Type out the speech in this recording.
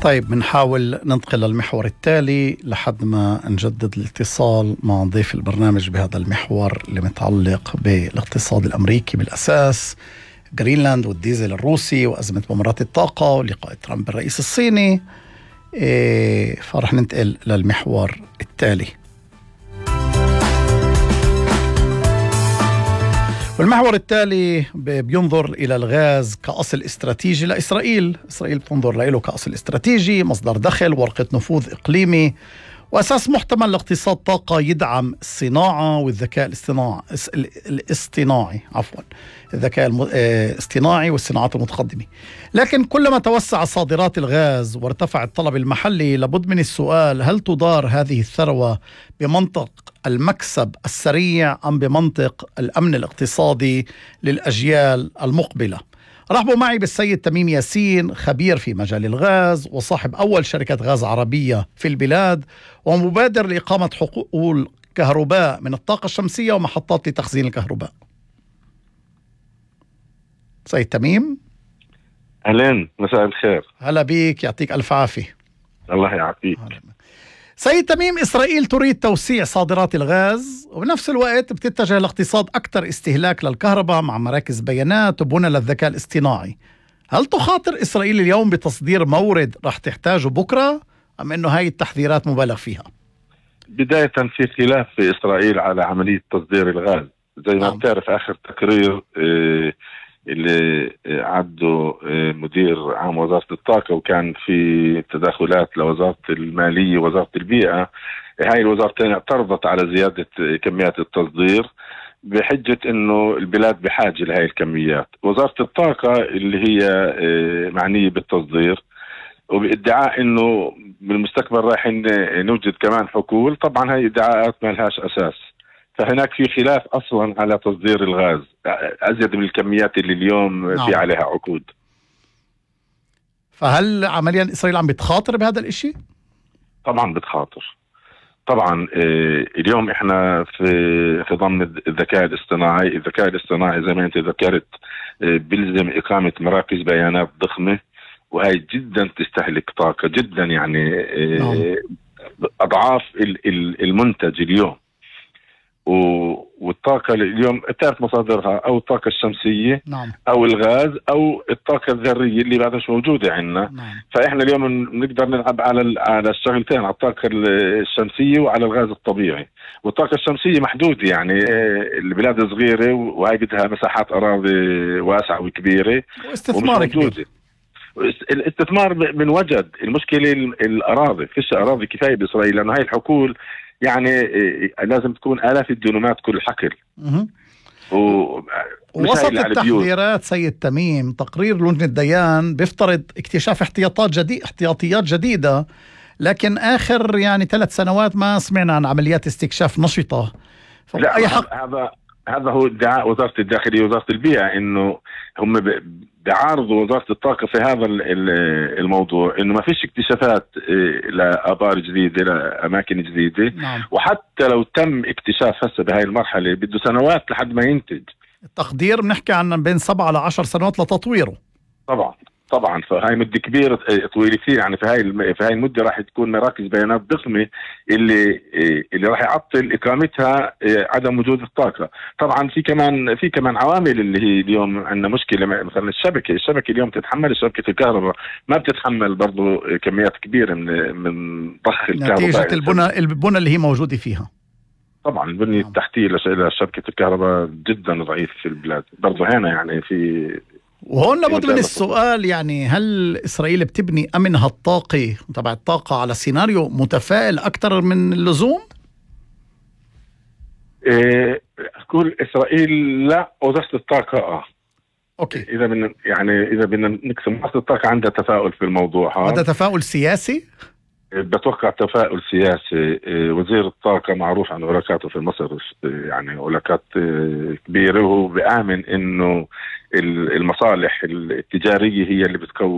طيب بنحاول ننتقل للمحور التالي لحد ما نجدد الاتصال مع ضيف البرنامج بهذا المحور اللي متعلق بالاقتصاد الأمريكي بالأساس، غرينلاند والديزل الروسي وأزمة ممرات الطاقة ولقاء ترامب بالرئيس الصيني. فرح ننتقل للمحور التالي. والمحور التالي بينظر إلى الغاز كأصل استراتيجي لإسرائيل. إسرائيل بتنظر له كأصل استراتيجي، مصدر دخل، ورقة نفوذ إقليمي، وأساس محتمل لاقتصاد طاقة يدعم الصناعة والذكاء الذكاء الاصطناعي والصناعات المتقدمة. لكن كلما توسع صادرات الغاز وارتفع الطلب المحلي، لابد من السؤال: هل تدار هذه الثروة بمنطق المكسب السريع أم بمنطق الأمن الاقتصادي للأجيال المقبلة؟ رحبوا معي بالسيد تميم ياسين، خبير في مجال الغاز وصاحب أول شركة غاز عربية في البلاد، ومبادر لإقامة حقول كهرباء من الطاقة الشمسية ومحطات لتخزين الكهرباء. سيد تميم، أهلين، مساء الخير. هلا بيك، يعطيك ألف عافية. الله يعافيك. سيد تميم، إسرائيل تريد توسيع صادرات الغاز وبنفس الوقت بتتجه لاقتصاد أكثر استهلاك للكهرباء مع مراكز بيانات وبنى للذكاء الاصطناعي. هل تخاطر إسرائيل اليوم بتصدير مورد رح تحتاجه بكرة، أم أنه هاي التحذيرات مبالغ فيها؟ بداية في خلاف في إسرائيل على عملية تصدير الغاز. زي ما بتعرف آخر تقرير اللي عده مدير عام وزارة الطاقة، وكان في تداخلات لوزارة المالية ووزارة البيئة، هاي الوزارتين اعترضت على زيادة كميات التصدير بحجة انه البلاد بحاجة لهاي الكميات. وزارة الطاقة اللي هي معنية بالتصدير وبادعاء انه بالمستقبل راح نوجد كمان حقول. طبعا هاي ادعاءات ما لهاش اساس، فهناك في خلاف اصلا على تصدير الغاز ازيد من الكميات اللي اليوم في عليها عقود. فهل عمليا اسرائيل عم بتخاطر بهذا الاشي؟ طبعا بتخاطر. طبعا اليوم احنا في ضمن الذكاء الاصطناعي. الذكاء الاصطناعي زي ما انت ذكرت بيلزم اقامة مراكز بيانات ضخمة، وهي جدا تستهلك طاقة جدا، يعني اضعاف المنتج اليوم. والطاقة اليوم بتعرف مصادرها أو الطاقة الشمسية أو الغاز أو الطاقة الذرية اللي بعدها مش موجودة عندنا. فإحنا اليوم نقدر نلعب على الشغلتين، على الطاقة الشمسية وعلى الغاز الطبيعي. والطاقة الشمسية محدودة، يعني البلاد صغيرة وهي بدها مساحات أراضي واسعة وكبيرة واستثمار كبير. الاستثمار من وجد. المشكلة الأراضي، فيش أراضي كفاية بإسرائيل، لأنه هاي الحقول يعني لازم تكون آلاف الدينامات كل حقل. وسط التحذيرات سيد تميم، تقرير لجنة ديان بيفترض اكتشاف احتياطيات جديدة، لكن آخر يعني 3 سنوات ما سمعنا عن عمليات استكشاف نشطة. لا، أي حق هذا هو ادعاء وزارة الداخلية ووزارة البيئة، إنه هم بيعارضوا وزارة الطاقة في هذا الموضوع، إنه ما فيش اكتشافات لآبار جديدة لأماكن جديدة. وحتى لو تم اكتشاف هسه بهاي المرحلة بده سنوات لحد ما ينتج. التقدير بنحكي عن بين 7 ل 10 سنوات لتطويره. طبعا فهاي مدة كبيرة طويلة كثير. يعني في هاي المدة راح تكون مراكز بيانات ضخمة اللي راح يعطل إقامتها عدم وجود الطاقة. طبعا في كمان عوامل اللي هي اليوم عندنا مشكلة. مثلا الشبكة اليوم تتحمل، شبكة الكهرباء ما بتتحمل برضو كميات كبيرة من ضخ الكهرباء نتيجة البنى اللي هي موجودة فيها. طبعا البنية التحتية لشبكة الكهرباء جدا ضعيف في البلاد برضو هنا. يعني وهون لابد من السؤال، يعني هل إسرائيل بتبني أمنها الطاقي تبع الطاقة على سيناريو متفائل أكثر من اللزوم؟ أقول إسرائيل لا، وزارة الطاقة أوكي. إذا بدنا نقسم، وزارة الطاقة عندها تفاؤل في الموضوع. هذا تفاؤل سياسي؟ بتوقع تفاؤل سياسي. وزير الطاقة معروف عن علاقاته في مصر، يعني علاقات كبيرة، وهو بآمن إنه المصالح التجارية هي اللي بتكون